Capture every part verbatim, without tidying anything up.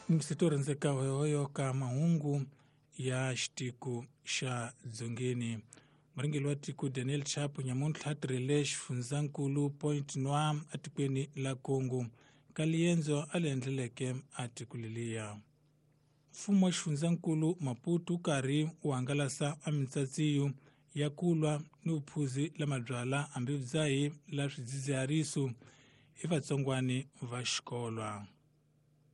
Mseto rhandzeka hoyohoyo ka mahungu ya xitiko xa dzongeni. Murhangeri wa tiko Daniel Chapo nyamuntlha tirhele xifundzankulu Point Noir etikweni la Congo ka liendzo a li endleleke a tiko leliya. Mfumo wa xifundzankulu Maputo wu karhi wu hangalasa a mitsatsiyo ya ku lwa ni vuphuzi la mabyala hambi vudzahi la swidzidzihariso hi vatsongwani va xikolwa.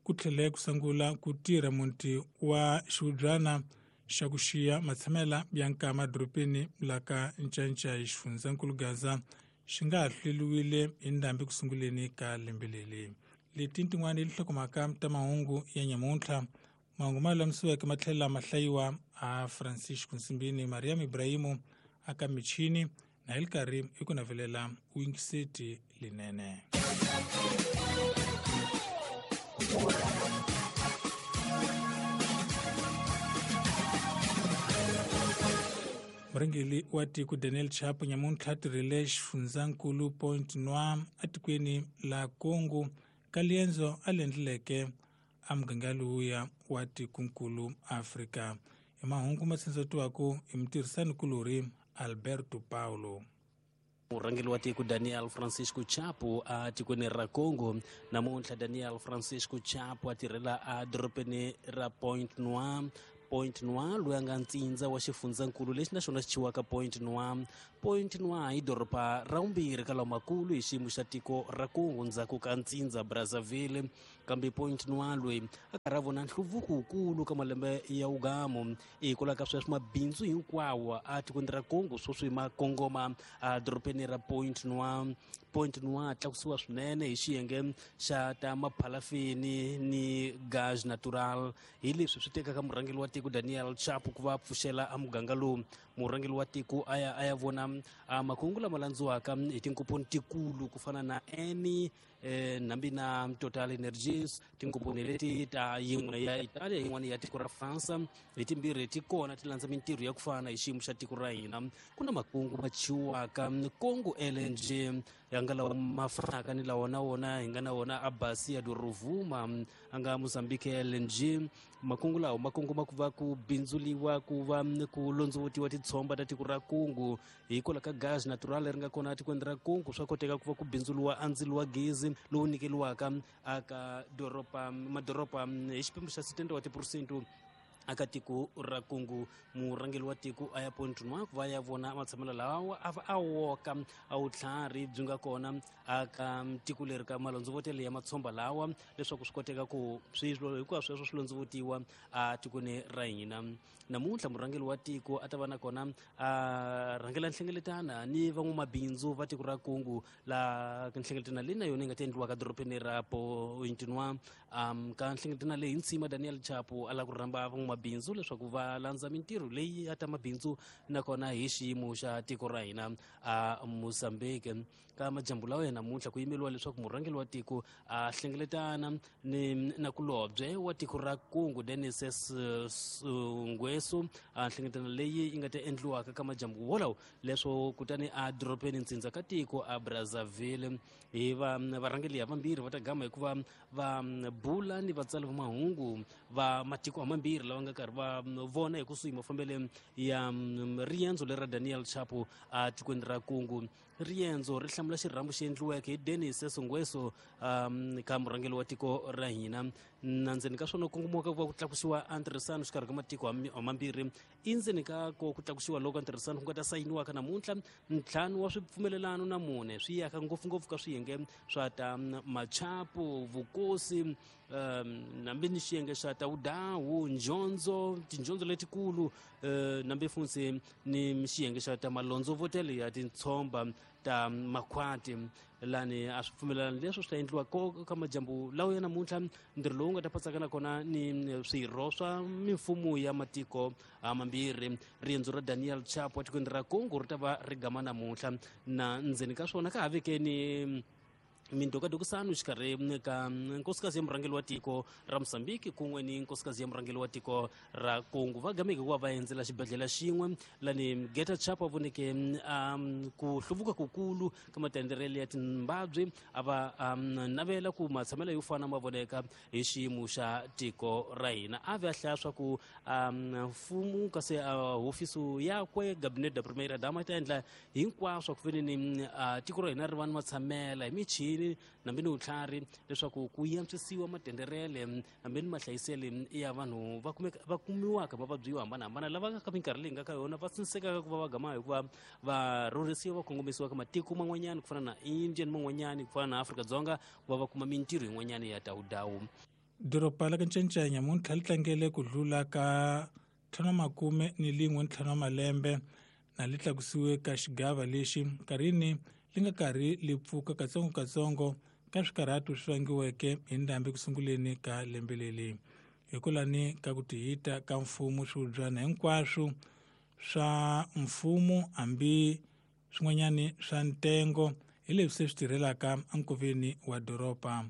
Ku tlhele ku sungula ku tirha muti wa xivubyana xa ku xiya matshamela ya nkama dorobeni la ka Ncancai xifundzankulu Gaza xi nga ha hleriwile hi ndhambi ku sunguleni ka lembe leri. Leti tin'wana i tinhlokomhaka ta mahungu ya nyamuntlha. Mahungu ma lulamisiweke ma tlhela ma hlayiwa a Francisco Nsimbini, Mariam Ibrahimu aka michini na hi li karhi hi ku navelela uyingiseti linene. Murhangeri wa tiko Daniel Chapo nyamuntlha tirhele xifundzankulu Point Noir etikweni la Congo ka liendzo a li endleleke a muganga lowuya wa tikonkulu Afrika. Hi mahungu ma tshindzetiwaka hi mutirhisani-kulorhi Alberto Paulo. Murhangeri wa tiko Daniel Francisco Chapo a tikweni ra Congo namuntlha. Daniel Francisco Chapo a tirhela a dorobeni ra Point Noir. Point Noir loyi a nga ntsindza wa xifundzankulu lexi naxona xi chiwaka Point Noir. Point Noir i doroba ra vumbirhi ka lamakulu hi xiyimo xa tiko ra Congo ndzhaku ka ntsindza Brazzaville. Kambe Point Noir loyi a karhi a vona nhluvuko wukulu ka malembe ya ugamu hikwalaho ka sweswo mabindzu hinkwawo a tikweni ra Congo sweswi ma kongoma a dorobeni ra Point Noir. Point Noir tlakusiwa swinene hi xiyenge xa ta maphalafini ni gaz natural hi leswi swi tekaka murhangeri wa tiko Daniel Chapo ku va pfuxela a muganga lowu. Murhangeri wa tiko a ya a ya vona a makungu lama landziwaka hi tinkomponi tikulu ku fana na Eni eh, nambi na Total Energies, tinkomponi leti ta yin'we ya Italia yin'wana ya tiko ra France hi timbirhi ti kona ti landza mintirho ya ku fana hi xiyimo xa tiko ra hina. Ku na makungu ma chiwaka Congo L N G ya nga lawa ma fanaka ni lawa na wona hi nga na wona a Bacia do Rovuma a nga Mozambique L N G. Makungu lawa ma kongoma ku va ku bindzuliwa ku va ku londzovutiwa titshomba ta tiko ra Congo hikwalaho ka gas natural leri nga kona etikweni ra Congo. Swa koteka ku va ku bindzuliwa a ndzilo wa gezi lowu nyikeliwaka aka doroba madoroba hi xipimo xa sixty wa tiphurosente aka tiko ra Congo. Murhangeri wa tiko a ya Point Noir ku va ya vona matshamelo lawa a va a woka a vutlhari byi nga kona aka tiko leri ka malondzovotelo ya matshomba lawa leswaku swi koteka ku swilo hinkwaswo sweswo swi londzovutiwa a tikweni ra hina. Namuntlha murhangeri wa tiko a ta va na kona a rhangela nhlengeletana ni van'wamabindzu va tiko ra Congo la nhlengeletana leyi na yona yi nga ta endliwaka dorobeni ra Point Noir. Um, ka nhlengeletana leyi ntshima Daniel Chapo a lava ku rhamba van'wamabindzu leswaku va landza mintirho leyi ya ta mabindzu nakona hi xiyimo xa tiko ra hina a Mozambique. Ka majambu lawa ya namuntlha ku yimeriwa leswaku murhangeri wa tiko a hlengeletana ni nakulobye wa tiko ra Congo Denis Ngweso. A nhlengeletano leyi yi nga ta endliwaka ka majambu wolawo leswo kutani a dorobeni ntsindza ka tiko a Brazzaville. Hi va varhangeri ya vambirhi va ta gama hikuva va bula ni vatsali va mahungu va matiko mambirhi lava nga karhi va vona hi kusuhi mafambele ya riendzo leri ra Daniel Chapo a tikweni ra Congo. Riendzo ri hlamula xirhambo xi endliweke hi Denis Ngweso um, ka murhangeri wa tiko ra hina. Na ndzeni ka swona kongomiwaka ku va ku tlakusiwa a ntirhisano xikarhi ka matiko mambirhi. I ndzeni ka ko ku tlakusiwa loko ntirhisano ku nga ta sayiniwaka namuntlha ntlhanu wa swipfumelelano na mune swi yaka ngopfungopfu ka swiyenge swa ta machapo, vukosi, um, nambi ni xiyenge xa ta vudawu, njondzo, tinjondzo letikulu, uh, nambi funtsi ni xiyenge xa ta malondzovotelo ya tintshomba ta makhwati. Lani a swi pfumelelani leswi swi ta endliwa ka majambu lawa ya namuntlha. Ntirho lowu nga ta patsakana kona ni swirho swa mimfumo ya matiko mambirhi. Riendzo ra Daniel Chapo etikweni ra Congo ri ta va ri gama namuntlha na ndzeni ka swona ka ha vekeni Mindokadokisano xikarhi ka nkosikazi ya murhangeri wa tiko ra Mozambique kun'we ni nkosikazi ya murhangeri wa tiko ra Congo va gameke ku va va endzela xibedhlele xin'we lani Geta Chapo voneke um, ku hluvuka kukulu ka matenderele ya timbabye a va um, navela ku matshamelo yo fana ma voneka hi xiyimo xa tiko ra hina a ve a hlaya swa ku um, mfumo kasi uh, hofisi yakwe Gabinete da Primeira Dama yi ta endla hinkwaswo ku veneni uh, tiko ra hina ri va ni matshamela hi michini nambi ni vutlhari leswaku ku yantswisiwa matenderele hambi ni mahlayisele ya vanhu va kumeka va kumiwaka mavabyi yo hambanahambana lava ka minkarhi leyi nga ka yona va tsinsekaka ku va va gama hikuva va rhurhisiwa va kongomisiwa ka matiko man'wanyana ku fana na India ni man'wanyana ku fana na Afrika-Dzonga ku va va kuma mintirho yin'wanyana ya dawudawu. Doroba la ka Ncancanya nyamuntlha li tlangele ku hlula ka ntlhanu wa makume ni lin'we ntlhanu wa malembe na li tlakusiwe ka xigava lexi nkarhini li nga karhi li pfuka katsongokatsongo ka swikarhatu swi vangiweke hi ndhambi ku sunguleni ka lembe leri hikwalani ka ku tihita ka mfumo swihubyana hinkwaswo swa mfumo hambi swin'wanyani swa ntengo hi leswi se swi tirhelaka enkoveni wa doroba.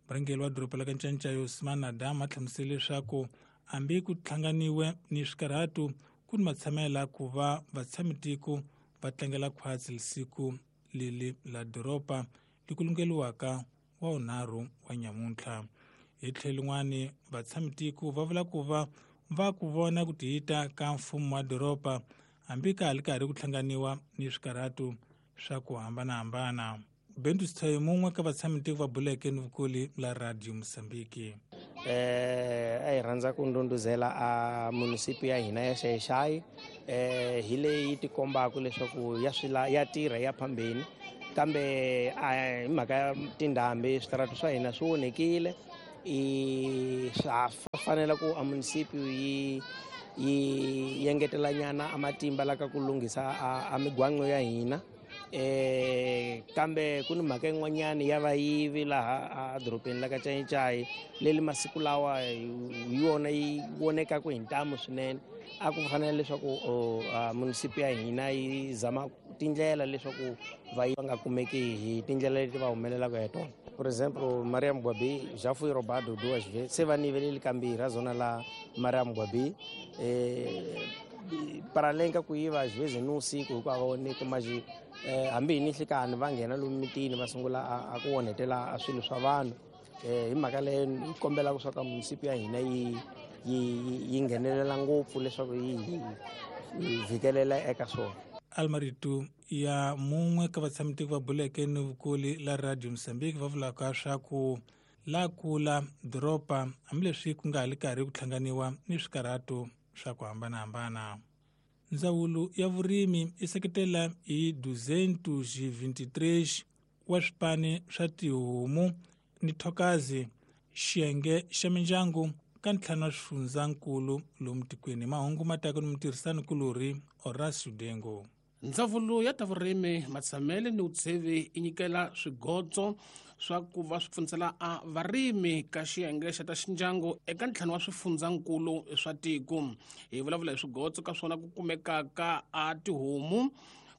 Murhangeri wa doroba la ka Ncancanya Osman Adam a hlamusele leswaku hambi ku hlanganiwe ni swikarhatu ku ni matshamela ku va vatshamitiko va tlangela khwatsi siku leli la doroba li kulungeliwaka wa wunharhu wa nyamuntlha. Hi tlhelo lin'wani vatshamitiko va vula ku va va ku vona ku tihita ka mfumo wa doroba hambi ka ha li karhi ku hlanganiwa ni swikarhatu swa ku hambanahambana. Bentu Sithayi mun'we ka vatshamitiko va buleke ni vukuli la Radio Mozambique. Eh a hi rhandza ku ndhundhuzela a munisipi ya hina ya Xai-Xai eh hi leyi tikombaka leswaku ya swila ya tirha ya phambeni kambe a hi mhaka ya tindhambi switaratu swa hina swi onhekile i swa fanela ku a munisipi yi yi engetela nyana a matimba la ka ku lunghisa a migwaqo ya hina eh kambe ku ni mhaka yin'wanyana ya vayivi laha a dorobeni la ka Ncayicayi leli masiku lawa hi yona yi vonekaka hi ntamu swinene a ku fanele leswaku munisipi ya hina yi zama tindlela leswaku vayivi va nga kumeki hi tindlela leti va humelelaka hi tona. Por exemplo, Maria Mugwabi já fui roubado duas vezes se va niveleli kambirhi a zona la Maria Mugwabi eh para além ka ku yiva às vezes ni usiku hikuva va voneki mas eh hambi hi ni nhlikani va nghena lomu mitini va sungula a ku onhetela a swilo swa vanhu eh hi mhaka leyo yi kombela leswaku munisipi ya hina yi yi yi nghenelela ngopfu leswaku yi yi vhikelela eka swona. Almaritu ya mun'we ka vatshamitiko va buleke ni vukuli la Radio Mozambique va vulaka swa ku la kula doroba hambileswi ku nga ha li karhi ku hlanganiwa ni swikarhatu swa ku hambanahambana. Ndzawulo ya vurimi yi seketela hi duzentos e vinte e três wa swipani swa tihomu ni thokazi xiyenge xa mindyangu ka ntlhanu wa swifundzankulu lomu tikweni. Mahungu ma taka ni mutirhisani-kulorhi Horacio Dengo. Ndzawulo ya ta vurimi matshamele ni vutshevi yi nyikela swigotso swa ku va swi pfunisela a varimi ka xiyenge xa ta xindyangu eka ntlhanu wa swifundzankulu swa tiko. Hi vulavula hi swigotso ka swona ku kumekaka a tihomu,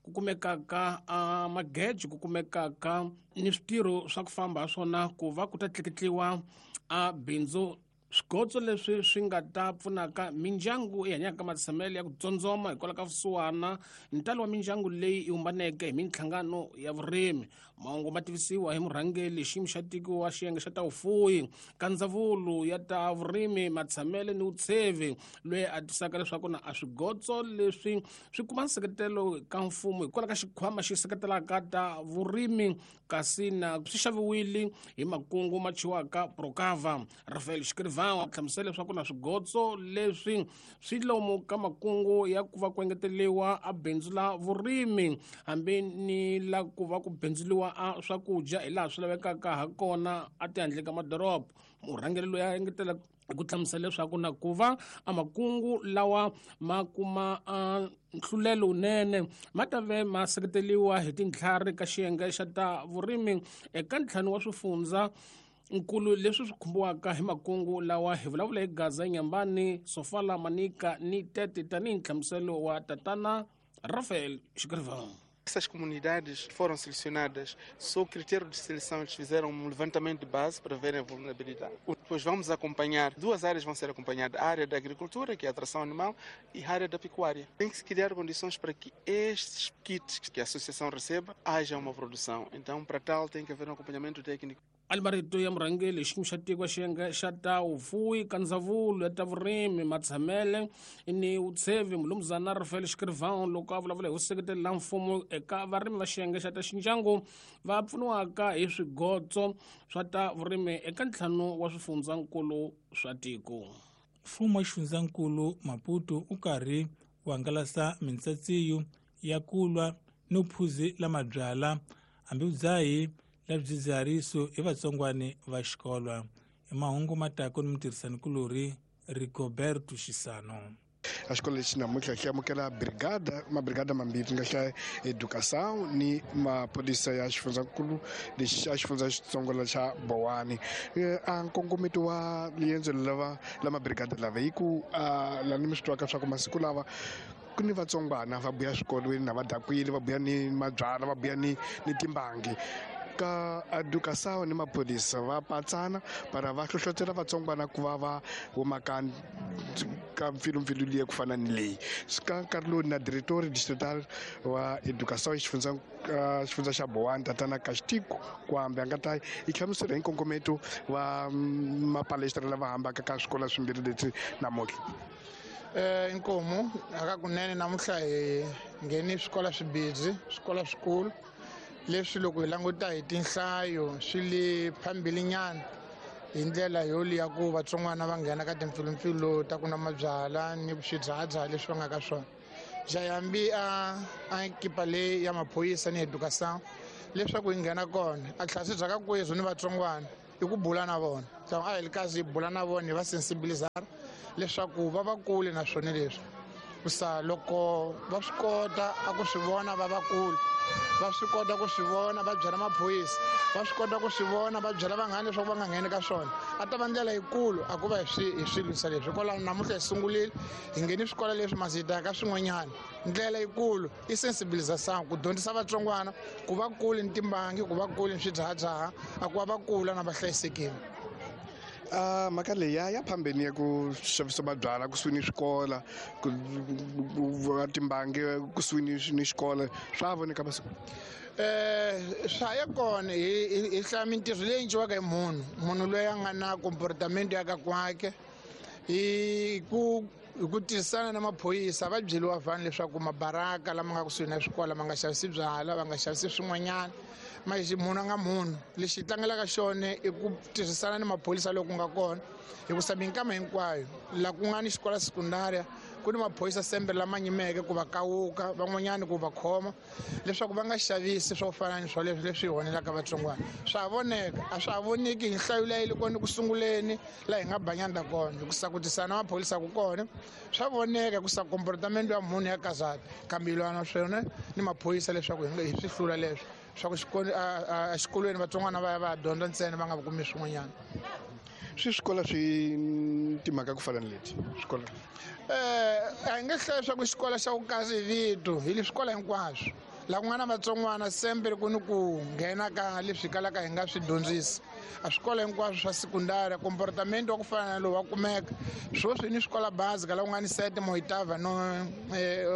ku kumekaka a mageji, ku kumekaka ni switirho swa ku famba swona ku va ku ta tleketliwa a bindzu. Swigotso leswi swi nga ta pfunaka mindyangu yi hanyaka ka matshamelo ya ku tsondzoma hikwalaho ka vusiwana ntalo wa mindyangu leyi yi humbaneke hi minhlangano ya vurimi. Mahungu ma tivisiwa hi murhangeri xiyimo xa tiko wa xiyenge xa ta vufuwi ka ndzawulo ya ta vurimi matshamelo ni vutshevi loyi a tisaka leswaku na a swigotso leswi swi kuma nseketelo ka mfumo hikwalaho ka xikhwama xi seketelaka ta vurimi kasi na swi xaviwile hi makungu ma chiwaka Procava. Rafael Xikiriva hlamusela leswaku na swigotso leswi swi lomu ka makungu ya ku va ku engeteriwa a bindzu la vurimi hambi ni la ku va ku bindzuliwa a swakudya hi laha swi lavekaka ha kona a tihandle ka madoroba. Murhangeri loyi a engetela ku hlamusela leswaku na ku va a makungu lawa ma kuma a nhlulelo wunene ma ta ve ma seketeriwa hi tintlhari ka xiyenge xa ta vurimi eka ntlhanu wa swifundza nkulu leswi swi khumbiwaka hi makungu lawa. Hi vulavula hi Gaza, Nyambani, Sofala, Manika ni Tete tanihi nhlamuselo wa tatana Rafael Xikiriva. Essas comunidades foram selecionadas sob critério de seleção, eles fizeram um levantamento de base para verem a vulnerabilidade. Depois vamos acompanhar, duas áreas vão ser acompanhadas, a área da agricultura, que é a tração animal, e a área da pecuária. Tem que se criar condições para que estes kits que a associação receba, haja uma produção. Então, para tal, tem que haver um acompanhamento técnico. Almarito ya murhangeri xiyimo xa tiko xiyenge xa ta vufuwi ka ndzawulo ya ta vurimi matshamele ni vutshevi mulumuzana Rafael Xikrivão loko a vulavula hi vuseketeri la mfumo eka varimi va xiyenge xa ta xindyangu va pfuniwaka hi swigotso swa ta vurimi eka ntlhanu wa swifundzankulu swa tiko. Mfumo wa xifundzankulu Maputo u karhi wu hangalasa mintsatsiyo ya ku lwa no phuzi la mabyala hambi vudzahi la swidzidziharisi hi vatsongwana va xikolo. I mahungu matako ni mutirhisanikulorhi Rigoberto Xisano. A xikolo lexi namuntlha xi amukela brigada mabrigada mambirhi nga xa educação ni maphorisa ya xifundzankulu lexi xa xifundza xitsongo xa Bowani. A nkongometo wa riendzo lava la mabrigada lava hi ku la ni mi swi twaka swa ku masiku lava ku ni vatsongwana va buya swikolweni na va dakwile va buya ni mabyala va buya ni ni timbangi ka educação ni maphorisa va patsana para va hlohlotela vatsongwana ku va va huma ka ka mpfilumpfilu liya ku fana ni leyi. Ka nkarhi lowu na diretori distrital wa educação xifundza xifundza xa Bowani tatana Kastiko Kwambe a nga ta yi hlamusela hi nkongometo wa mapalestra lava hambaka ka swikolo swimbirhi leswi namuntlha. Eh inkomu akakunene namuntlha hi ngheni swikolo swibirhi swikolo swikulu leswi loko hi languta hi tinhlayo swi le phambilinyana hi ndlela yo liya ku vatsongwana va nghena ka timpfilumpfilu ta ku nwa mabyala ni swidzahadzaha leswi va nga ka swona. Jayambi a a ekipa leyi ya maphorisa ni educação leswaku hi nghena kona a tlhasi bya ka kwezu ni vatsongwana i ku bula na vona. A hi li kazi hi bula na vona hi va sensibilizara leswaku va va kule na swona leswi kusa loko va swi kota a ku swi vona va va kule va swi kota ku swi vona va byela maphorisa va swi kota ku swi vona va byela vanghana leswaku va nga ngheni ka swona a ta va ndlela yikulu a ku va hi swi hi swi lwisa leswi. Hikwalaho namuntlha hi sungurile hi ngheni swikolo leswi masita ka swin'wanyana ndlela yikulu i sensibilisation ku dyondzisa vatsongwana ku va kule ni timbangi ku va kule ni swidzahadzaha a ku va va kula na va hlayisekile. A mhaka leyi ya ya phambeni ya ku xavisa mabyala kusuhi ni swikola ku va timbangi kusuhi ni ni xikolo swa voneka masiku. Eh swa ya kona hi hi hlaya mintirho leyi endliwaka hi munhu munhu loyi a nga na comportement ya ka kwake hi ku hi ku tirhisana na maphorisa va byeriwa vanhu leswaku mabaraka lama nga kusuhi na swikolo ma nga xavisi byala va nga xavisi swin'wanyana manje munhu a nga munhu lexi hi tlangelaka xona i ku tirhisana ni maphorisa loku nga kona hikusa minkama hinkwayo laha ku nga ni xikolo sekundaria ku ni maphorisa sembe lama nyimeke ku va kawuka van'wanyana ku va khoma leswaku va nga xavisi swo fana ni swoleswo leswi hi honelaka vatsongwana. Swa voneka a swa ha voneki hi nhlayo leyi le kona ku sunguleni laha hi nga banyanda kona hikusa ku tirhisana na maphorisa ku kona swa voneka hikusa comportement ya munhu ya kazata kambe hi lwa na swona ni maphorisa leswaku hi nga hi swi hlula leswo swa ku exikolweni vatsongwana va ya va ya dyondza ntsena va nga kumi swin'wanyana. Swi swikolo swi timhaka ku fana ni leti swikolo eh a hi nge hlayi swa ku xikolo xa ku kasi hi vito hi le swikolo hinkwaswo laha ku nga na vatsongwana sembe ku ni ku nghena ka leswi kalaka hi nga swi dyondzisi a swikolo hinkwaswo swa sekundari comportement wa ku fana na lowu wa kumeka sweswi ni swikola basic laha ku nga ni sete moitava no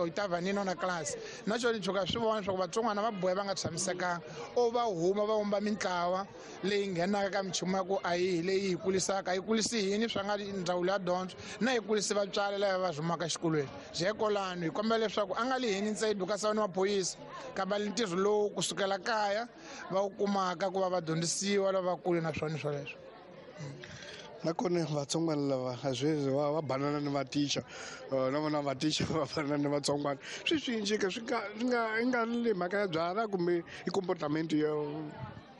oitava ni nona class na xona tshuka swi vona swa ku vatsongwana va boya va nga tshamisekanga o va huma va vumba mintlawa leyi nghenaka ka minchumu ya ku a yi leyi hi kulisaka a yi kulisi yini swa nga ndzawulo ya dyondzo na yi kulisi vatswari lava va humaka exikolweni byekolano hi kombela leswaku a nga lihini ntsena education ni maphorisa kambe ntirho lowu kusukela kaya va wu kumaka ku va va dyondzisiwa lava vakulu na swona swoleswo. Nakona vatsongwana lava a sweswi va va banana ni vaticha na vona vaticha va banana ni vatsongwana swi swi cinca swi nga swi nga i nga le mhaka ya byala kumbe i comportement ya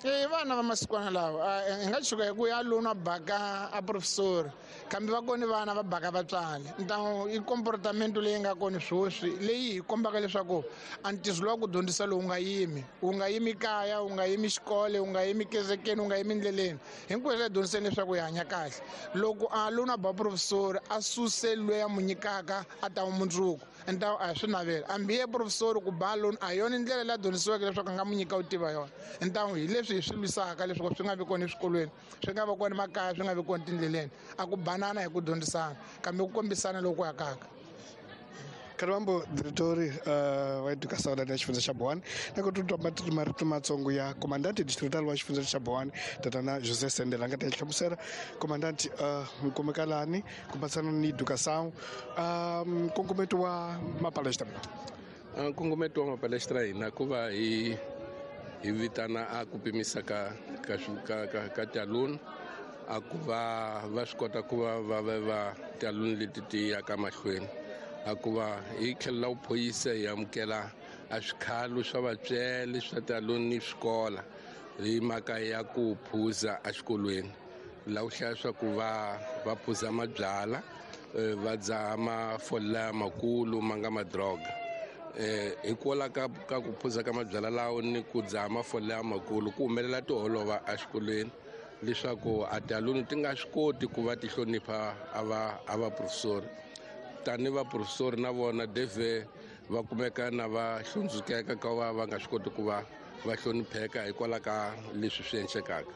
E vana va masikwana lawa hi nga tshuka hi ku ya lona baka a professor kambe va kona vana va baka vatswari ntamu i comportamento leyi nga kona swoswi leyi hi kombaka leswaku a ntirho lowa ku dyondzisa lowu nga yimi wu nga yimi kaya wu nga yimi xikolo wu nga yimi kerekeni wu nga yimi ndleleni hinkwaswo hi dyondziseni leswaku hi hanya kahle loko a lona ba professor a suse loyi a mu nyikaka a ta mundzuku ntamu a swi navela hambi ye professor ku ba lona a yona ndlela leyi a dyondzisiweke leswaku a nga mu nyika u tiva yona ntamu hi leswi hi swi lwisaka leswaku swi nga vi kona eswikolweni swi nga vi kona makaya swi nga vi kona tindleleni a ku banana hi ku dyondzisana kambe ku kombisana loku akaka. Kalwambo diretori uh, wa educação da xifundza xa Boane na ku tutwa marito matsongo ya comandante distrital wa xifundza xa Boane tatana José Sendela nga ta hlamusela comandante uh, nkomekalani ku pasana ni educação um nkongometo wa mapalestra nkongometo wa mapalestra hina ku va hi hi vitana a ku pimisa ka ka ka ka, ka tialuni a ku va va swi kota ku va va va va tialuni leti ti yaka mahlweni a ku va hi tlhela vuphoyisa hi amukela a swikhalo swa vatswele swa tialuni ni swikola hi mhaka ya ku phuza exikolweni laha ku hlaya swa ku va va phuza mabyala va dzaha mafola lamakulu ma nga madroga eh hikwalaho ka ka ku phuza ka mabyala lawo ni ku dzaha mafola lamakulu ku humelela tiholova exikolweni leswaku a tialuni ti nga swi koti ku va ti hlonipha a va a va professor tani va professor na vona deve va kumeka na va hlundzukeka ka va va nga swi koti ku va va hlonipheka hikwalaho ka leswi swi endlekaka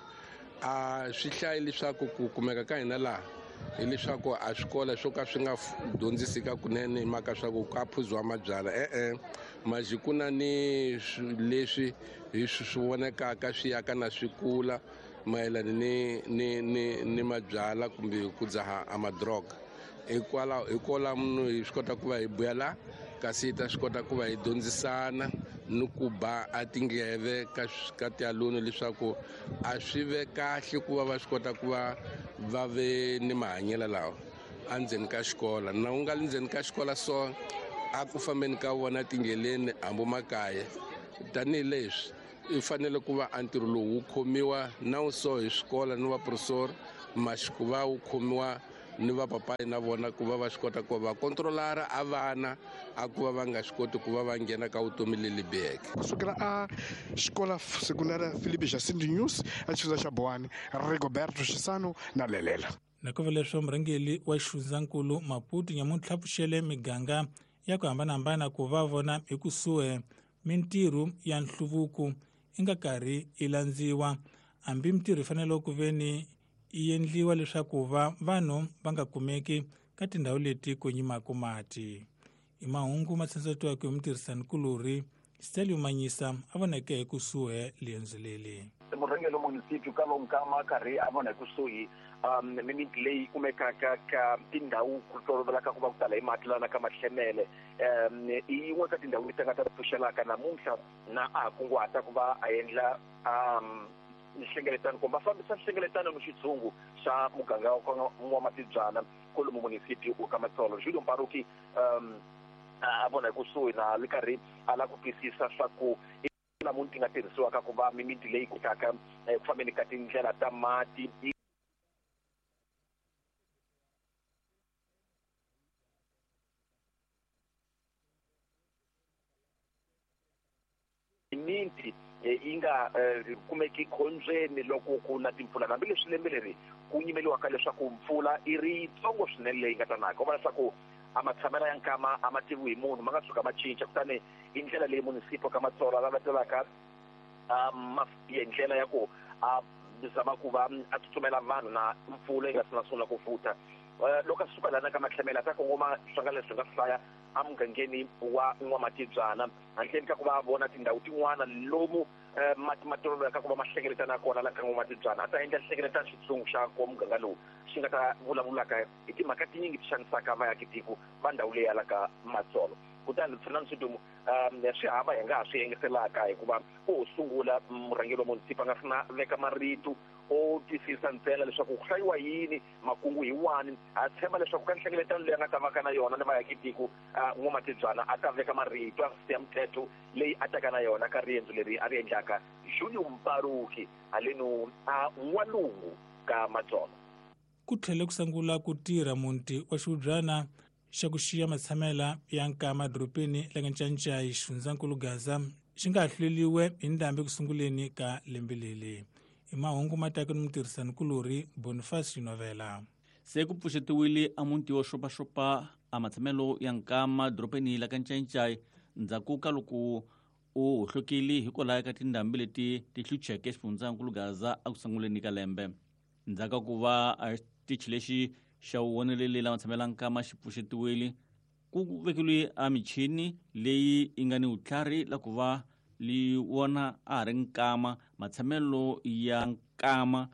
a swi hlayi leswaku ku kumeka ka hina laha hileswaku a swikolo swo ka swi nga dyondzisi ka kunene hi mhaka swa ku ka phuziwa mabyala e-e maji ku na ni leswi hi swi vonekaka swi yaka na swi kula mayelana ni ni ni ni mabyala kumbe ku dzaha a madroga hikwalaho hikwalaho munhu hi swi kota ku va hi buya la kasi hi ta swi kota ku va hi dyondzisana ni ku ba a tindleve ka ka tialuni leswaku a swi ve kahle ku va va swi kota ku va va ve ni mahanyelo lawa endzeni ka xikolo na u nga le ndzeni ka xikolo so a ku fambeni ka vona tindleleni hambi makaya tanihileswi i fanele ku va a ntirho lowu wu khomiwa na wu so hi swikolo ni vaprofesori maxi ku va wu khomiwa ni vapapayi na vona ku va va swi kota ku va va kontrolara a vana a ku va va nga swi koti ku va va nghena ka vutomi leli biheke. Kusukela a xikola sekundara Filipe Jacinto News a xifundza xa Boane Rigoberto Xisano na Lelela. Nakova leswo murhangeri wa xifundzankulu Maputo nyamuntlha pfuxele miganga ya ku hambanahambana ku va vona hi kusuhi mintirho ya nhluvuko yi nga karhi yi landziwa hambi mintirho yi fanele ku ve ni yi endliwa leswaku va vanhu va nga kumeki ka tindhawu leti ku nyimaka mati. I mahungu ma tsandzetiwaka hi mutirhisanikulorhi Stelio Manyisa a voneke hi kusuhi liendzo leri. Murhangeri wa munisipyu ka Lonkama karhi a vona hi kusuhi um mimiti leyi kumekaka ka tindhawu ku tolovelaka ku va ku tala hi mati lana ka Mahlemele um i yin'we ka tindhawu leti nga ta pfuxelaka namuntlha na a ha kunguhata ku va a endla um nhlengeletano kumbe va fambisa nhlengeletano ni xitshungu xa muganga wa Matibyana kwalomu munisipyu wa ka Matsolo. Julio Mparuki um a vona hi kusuhi na le karhi a lava ku twisisa swa ku namuntlha ti nga tirhisiwaka ku va mimiti leyi kotaka ku fambeni ka tindlela ta mati miti yi nga kumeki khombyeni loko ku na timpfula hambileswi lembe leri ku nyimeliwaka leswaku mpfula i ri yitsongo swinene leyi nga ta naka u vona leswaku a matshamelo ya nkama a ma tiviwi hi munhu ma nga tshuka ma cinca kutani i ndlela leyi munisipo ka Matsolo a latelaka hi ndlela ya ku a zama ku va a tsutsumela vanhu na mpfula yi nga si na sungula ku futa loko a suka lana ka Mahlemele a ta kongoma swanga leswi nga hlaya emugangeni wa N'wamatibyana handleni ka ku va vona tindhawu tin'wana lomu mati ma toloveleka ku va ma hlengeletana kona la ka N'wamatibyana a ta endla nhlengeletano xitshungu xa ko muganga lowu xi nga ta vulavulaka hi timhaka tinyingi ti xanisaka vaakatiko va ndhawu leyi ya ka Matsolo. Kutani Fernando Sidumo um swi hava hi nga ha swi engetelaka hikuva ku ho sungula murhangeri wa munisipa a nga si na veka marito o twisisa ntsena leswaku ku hlayiwa yini makungu hi wani a tshemba leswaku ka nhlengeletano leyi a nga ta va ka na yona ni vaakitiko N'wamatibyana a ta veka marito ya mthetho leyi a taka na yona ka riendzo leri a ri endlaka Junior Mparuki haleno a n'walungu ka Matsonga. Ku tlhele ku sungula ku tirha muti wa xihubyana xa ku xiya matshamela ya nkama dorobeni la Ncancai xifundzankulu Gaza xi nga hluleliwe hi ndhambi ku sunguleni ka lembe leri. I mahungu ma taka ni mutirhisanikulorhi Boniface Novela. Se ku pfuxetiwile a muti wo xopaxopa a matshamelo ya nkama dorobeni la Ncancai ndzhaku ka loko u hohlokile hikwalaho ka tindhambi leti ti hlucheke xifundzankulu Gaza eku sunguleni ka lembe. Ndzhaku ka ku va a xitichi lexi xa vuvoneleli la matshamelo ya nkama xi pfuxetiwile ku vekeliwe a michini leyi yi nga ni vutlhari la ku va li wona a ha ri nkama matshamelo ya nkama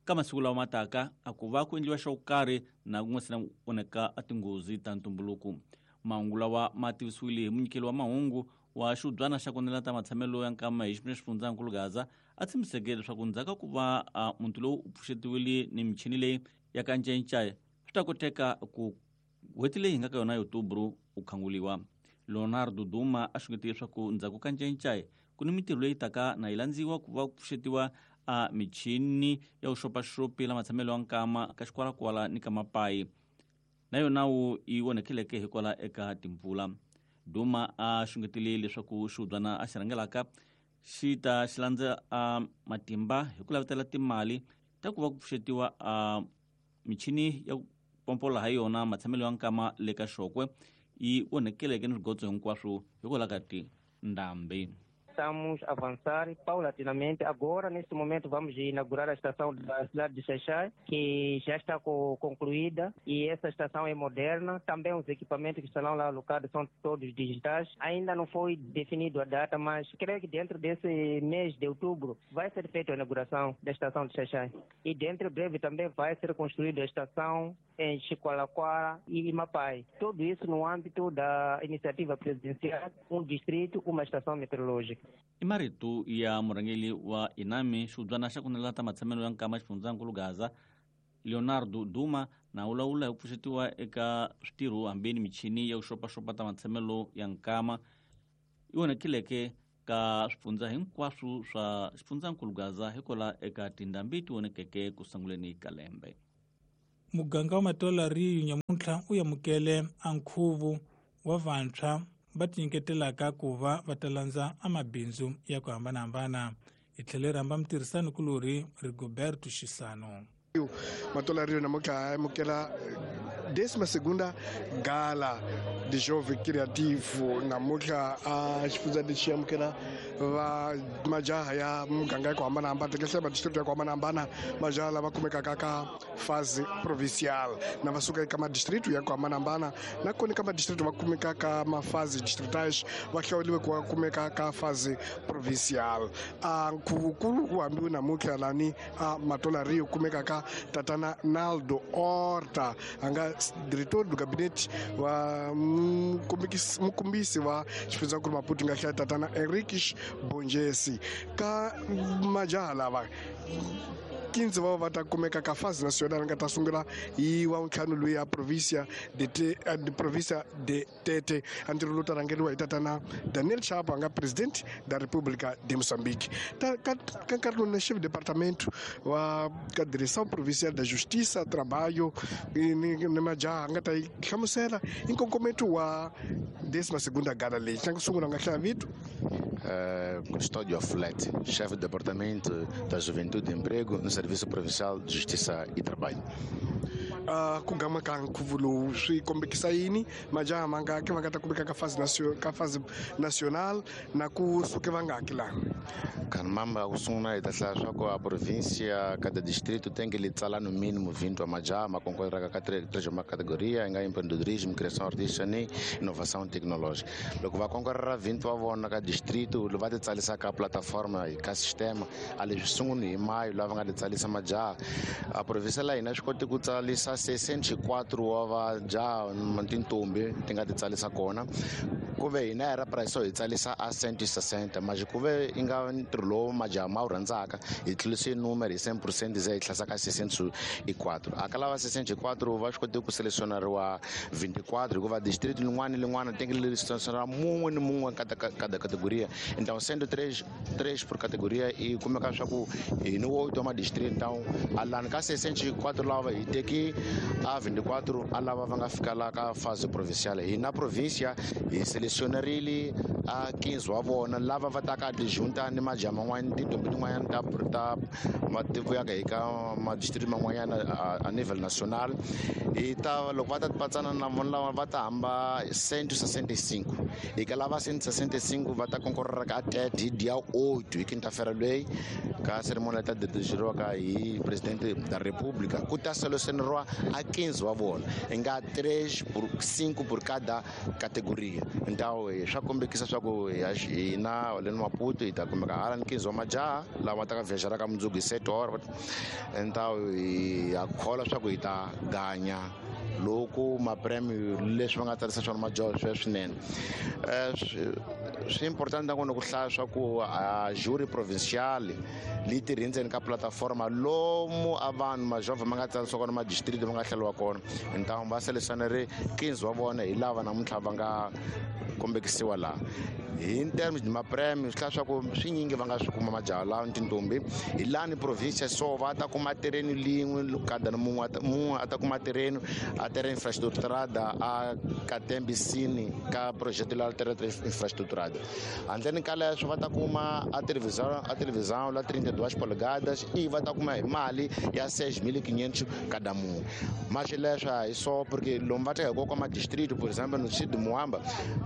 ka masiku lawa ma taka a ku va ku endliwa xo karhi na ku nga si na onheka a tinghozi ta ntumbuluko. Mahungu lawa ma tivisiwile hi munyikeli wa mahungu wa xihubyana xa ku ta matshamelo ya nkama hi xifundzankulu Gaza a tshembiseke leswaku ndzhaku ka ku va muti lowu u pfuxetiwile ni michini leyi ya ka Ncancai swi ta koteka ku n'hweti leyi hi nga ka yona ya Otobro u khanguliwa. Leonardo Duma a xungetile leswaku ndzhaku ka Ncancai ku ni mintirho leyi taka na yi landziwa ku va ku pfuxetiwa a michini ya vuxopaxopi la matshamelo ya nkama ka xikwalakwala ni ka mapayi na yona wu yi onhekeleke hikwalaho eka timpfula. Duma a xungetile leswaku xihubyana a xi rhangelaka xi ta xi landza a matimba hi ku lavetela timali ta ku va ku pfuxetiwa a michini ya ku pompola ha yona matshamelo ya nkama le ka Xokwe yi onhekeleke ni swigotso hinkwaswo hikwalaho ka tindhambi. Estamos a avançar paulatinamente. Agora, neste momento, vamos inaugurar a estação da cidade de Xaixai, que já está concluída, e essa estação é moderna. Também os equipamentos que estarão lá alocados são todos digitais. Ainda não foi definido a data, mas creio que dentro desse mês de outubro vai ser feita a inauguração da estação de Xaixai. E dentro breve também vai ser construída a estação em Chicoalacoara e Mapai. Tudo isso no âmbito da iniciativa presidencial, um distrito, uma estação meteorológica. I marito ya murhangeri wa Inami xihubyana xa ku ta matshamelo ya nkama xifundzankulu Gaza Leonardo Duma na vulavula hi ku pfuxetiwa eka switirho hambi ni michini ya ku xopaxopa ta matshamelo ya nkama yi onhekeleke ka swifundza hinkwaswo swa xifundzankulu Gaza hikwalaho eka tindhambi ti onhekeke ku sunguleni ka lembe. Muganga wa Matola Rio nyamuntlha u amukele a nkhuvo wa vantshwa va tinyiketelaka ku va va ta landza a mabindzu ya ku hambanahambana. Hi tlhele rhamba mutirhisanikulorhi Rigoberto Xisano. Matola Rio namuntlha amukela décima segunda gala de jovem criativo namuntlha a xifundza lexi amukela va majaha ya muganga ya ku hambanahambana tikahle madistrict ya ku hambanahambana majaha lava kumekaka ka fase provincial na va suka eka madistrict ya ku hambanahambana na kona ka madistrict va kumeka ka mafase distritais va hlawuriwe ku va kumeka ka fase provincial. A nkhuvukulu wu hambiwe namuntlha lani a Matola Rio kumeka ka tatana Naldo Horta a nga diretor do gabinete wa mukumbisi wa xifundzankulu Maputo nga hlaya tatana Henriques Bonjesi ka majaha lava quinze va va ta kumeka ka fase nacional nga ta sungula hi wa ntlhanu loyi ya provincia de de provincia de Tete a ntirho lowu ta rhangeriwa hi tatana Daniel Chapo a nga president da República de Moçambique. Ta ka nkarhi lowu na chef departamento wa ka direção provincial da Justiça Trabalho ni ni majaha a nga ta yi hlamusela hi nkongometo wa décima segunda gala leyi xa ku sungula nga hlaya vito. Uh, Custódio Flet, chefe do Departamento da Juventude e Emprego no Serviço Provincial de Justiça e Trabalho. Uh, ku gama ka nkhuvo lowu swi kombekisa yini majaha mangaki va nga ta kumeka ka fase ka fase nacional na ku suke vangaki laha? Kanmamba ku sungula hi ta hlaya swa ku a província cada distrito tem que lhe tsala no mínimo vinte wa majaha ma concorreraka ka três uma categoria nga empreendedorismo, criação artística ni inovação tecnológica. Loko va concorrera vinte wa vona ka distrito va ti tsarisa ka plataforma ka sistema a leswi sunguli hi mayo lava nga ti tsarisa majaha. A província la hina swi koti ku tsarisa tsalisa seiscentos e quatro wa vajaha tintombi ti nga ti tsalisa kona ku ve hina hi ra price hi tsalisa a cento e sessenta mas ku ve i nga ntirho lowu majaha ma wu rhandzaka hi tlulise numero hi cem por cento ze hi tlhasa ka seiscentos e quatro a ka lava seiscentos e quatro va swi kote ku selecionariwa vinte e quatro hikuva distrito lin'wana ni lin'wana tenge leri selecionariwa mun'we ni mun'we ka cada categoria. Então cento e três três por categoria e kumeka swa ku hi ni oito wa madistrito. Então a lani ka seiscentos e quatro lava hi teki a vinte e quatro a lava va nga fika la ka fase provincial. Hi na província hi selecionarile a quinze wa vona lava va taka ti junta ni majaha man'wana tintombi tin'wanyana ta ta matiko ya ka hi ka madistrito man'wanyana a nível nacional. Hi ta loko va ta patsana na vona lava va ta hamba cento e sessenta e cinco hi ka lava cento e sessenta e cinco va ta concorrer ka tete hi dia oito hi quinta-feira leyi ka cerimônia ta dirigiwa hi presidente da república ku ta selecionariwa a quinze wa vona hi nga três por cinco por cada categoria. Então swa kombekisa swa ku hina leni Maputo hi ta kumeka hala ni quinze wa majaha lava ta ka viajar ka mundzuku hi sete horas. Então hi ha kholwa swa ku hi ta ganya loko mapremio leswi va nga tsarisa swona majaha swi swinene. Swi important nakona ku hlaya swa ku a jury provincial leyi tirhi ndzeni ka plataforma lomu a vanhu majovha ma nga tsarisiwa kona madistrito ma nga hleriwa kona. Então va selecionare quinze wa vona hi lava namuntlha va nga kombekisiwa laha. Hi terms de mapremio swi hlaya swa ku swinyingi va nga swi kuma majaha lawa ni tintombi hi lani província so va ta kuma terreno lin'we kada ni mun'we mun'we a ta kuma terreno a terra infraestruturada a Katembisini ka projeto la terra infraestruturada. Handleni ka leswo va ta kuma a televisão a televisão la trinta e duas polegadas e va ta kuma hi mali ya seis mil e quinhentos cada mun'we. Mas leswo a hi só porque lomu va teka hi ka madistrito, por exemplo, no distrito de Moamba,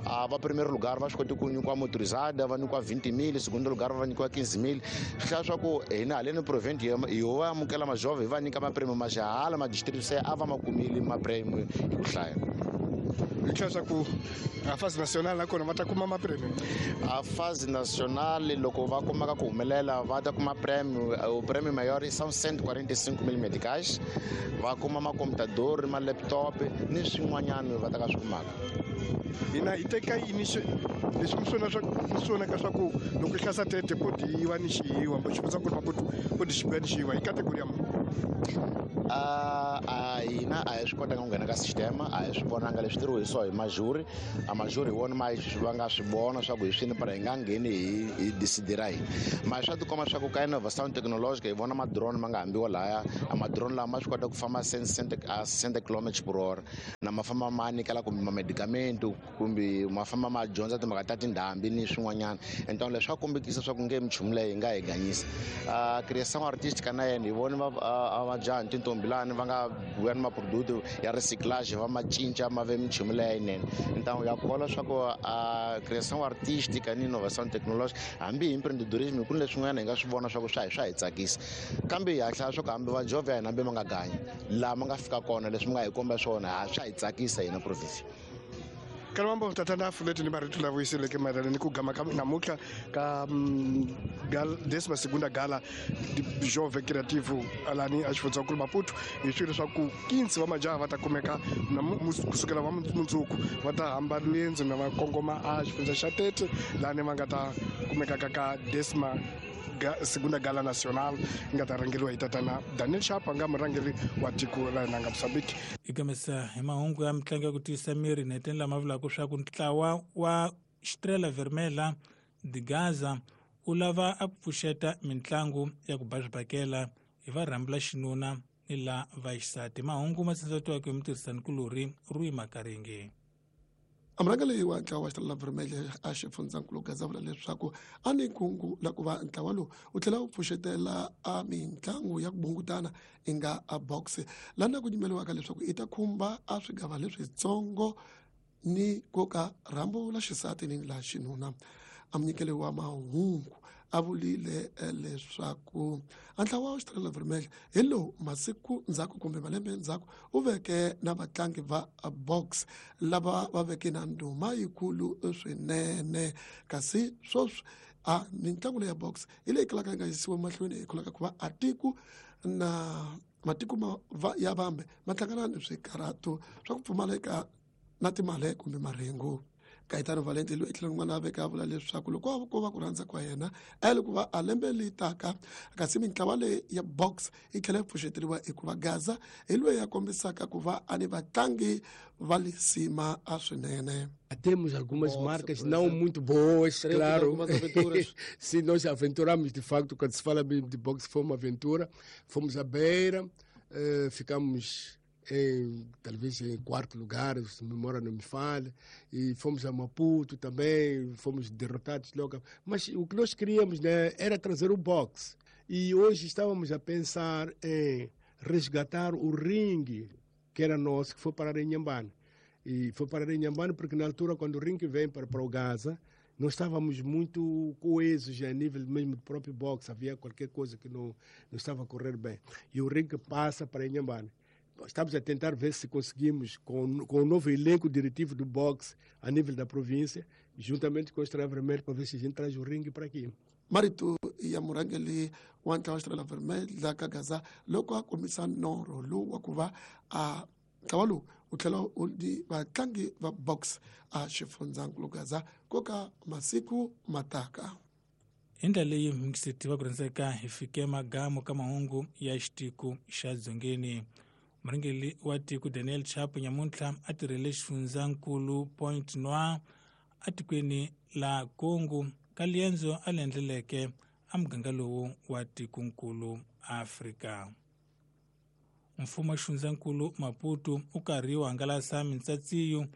a va primeiro lugar va swi koti ku nyikiwa motorizada va nyikiwa vinte mil, segundo lugar va nyikiwa quinze mil. Swi hlaya swa ku hina haleni província hi ho va amukela majovha hi va nyika mapremio majaha madistrito se a va ma kumile mapremio hi ku hlaya. Hi tlhela swa ku a fase nacional nakona va ta kuma mapremio. A fase nacional loko va kumaka ku humelela va ta kuma prêmio. O prêmio maior são cento e quarenta e cinco mil meticais. Va kuma macomputador, ma laptop ni swin'wanyana va ta ka swi kumaka. Hina hi teka yini leswi mi swona swa mi swonaka swa ku loko i hlasa tete po dyiwa ni xiyiwa xifundzankulu Maputo po di xibiwa ni xiyiwa hi category ya munhu. A hina a hi swi kotanga ku nghena ka sistema, a hi swi vonanga leswi tirhiwa hi swo hi majuri. A majuri hi wona ma va nga swi vona swa ku hi swini para hi nga ngheni hi hi decidira hina. Ma swa tikomba swa ku ka innovation technological hi vona ma-drone ma nga hambiwa lahaya. A ma-drone lama ma swi kota ku famba sessenta kilometers por hora na ma famba ma nyikela kumbe ma-medicamento kumbe ma famba ma dyondza timhaka ta tindhambi ni swin'wanyana. Então leswi swa kombekisa swa ku nge minchumu leyi hi nga hi ganyisa. Creação artística na yena hi vona majaha ni tintombi lani va nga vuya ni maproduto ya recyclage va ma cinca ma ve minchumu leyi yinene. Então ya kholwa swa ku a creação artística ni innovação tecnológica hambi hi empreendedorismo ku ni leswin'wana hi nga swi vona swa ku swa hi swa hi tsakisa. Kambe hi hlaya swa ku hambi vajovha ya hina hambi ma nga ganyi laha ma nga fika kona leswi mi nga hi komba swona swa hi tsakisa hina province. Kalwambo tatana fuleti ni marito la vuyiseleke mayelana ni ku gama ka namuntlha ka décima segunda gala Jovem Criativo alani a xifundzankulu Maputo. Hi swilo swa ku quinze wa majaha va ta kumeka kusukela va mundzuku va ta hamba riendzo na va kongoma a xifundza xa Tete lani va nga ta kumekaka ka décima segunda gala nacional nga ta rhangeriwa hi tatana Daniel Chapo nga murhangeri wa tiko la hina nga Mozambique. Ikamisa hi mahungu ya mitlangu ya ku tiyisa miri neteni lama vulaka swa ku ntlawa wa Estrela Vermelha de Gaza u lava a ku pfuxeta mitlangu ya ku ba swibakela hi varhambi la xinuna ni la va xisati. Mahungu ma tsindzatiwaka hi mutirhisanikulorhi Rui Makaringe. Amurhangeri wa ntlawa wa Estrela Vermelha a xifundzankulu Gaza vula leswaku a ni kungu la ku va ntlawa lowu wu tlhela wu pfuxetela a mitlangu ya ku bungutana i nga a box lana ku nyimeliwaka leswaku i ta khumba a swigava leswitsongo ni koka rhambu la xisati ni la xinuna. A munyikeli wa mahungu a vulile leswaku a ntlawa wa Estrela Vermelha hi lowu masiku ndzhaku kumbe malembe ndzhaku u veke na vatlangi va box lava va veke na ndhuma yikulu swinene. Kasi sweswi a mitlangu leyi ya box hi leyi kalaka yi nga yisiwa mahlweni hi kholaka ku va a tiko na matiko ma ya vambe ma hlangana ni swikarhato swa ku pfumaleka na timali kumbe marhengu. Caetano Valente loyi tlhelo rin'wana a veka a vula leswaku loko ko va ku rhandza kwa yena a yi ku va a lembe leyi taka kasi mintlawa leyi ya box yi tlhela yi pfuxeteriwa hikuva Gaza hi loyi a kombisaka ku va a ni vatlangi va lisima a swinene. Temos algumas Boxe, marcas não muito boas, claro. Sim, nós aventuramos, de facto, quando se fala de boxe, foi uma aventura. Fomos à Beira, eh, ficamos em, talvez em quarto lugar, se a memória não me falha, e fomos a Maputo também, fomos derrotados logo. Mas o que nós queríamos, né, era trazer o boxe. E hoje estávamos a pensar em resgatar o ringue que era nosso, que foi parar em Inhambane. E foi parar em Inhambane porque na altura, quando o ringue vem para, para o Gaza, nós estávamos muito coesos a nível mesmo do próprio boxe, havia qualquer coisa que não, não estava a correr bem. E o ringue passa para Inhambane. Estamos a tentar ver se conseguimos, com, com o novo elenco diretivo do boxe a nível da província, juntamente com o Estrela Vermelha, para ver se a gente traz o ringue para aqui. Marito ya murhangeri wa ntlawa wa Estrela Vermelha ka Gaza loko a kombisa norho lowu wa ku va a ntlawa lowu wu tlhela wu di vatlangi va box a xifundzankulu Gaza ko ka masiku mataka. Hi ndlela leyi mixeti va ku rhandzeka hi fike magamu ka mahungu ya xitiko xa dzongeni. Murhangeri wa tiko Daniel Chapo nyamuntlha a tirhele xifundzankulu Point Noir atikweni la Congo ka liendzo a le endleleke a muganga lowu wa tikonkulu Afrika. Mfumo wa xifundzankulu Maputo u karhi wu hangalasa mintsatsiyo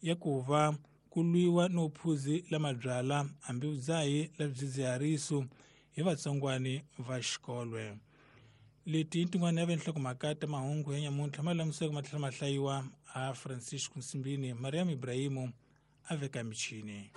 ya ku va ku lwiwa no phuzi la mabyala hambi vudzahi la swidzidziharisi hi vatsongwani va xikolwe. Leti i tin'wana ya venhlokomhaka ta mahungu ya nyamuntlha ma lamuseke ma tlhela ma hlayiwa a Francisco Nsimbini. Mariam Ibrahimu a veka michini.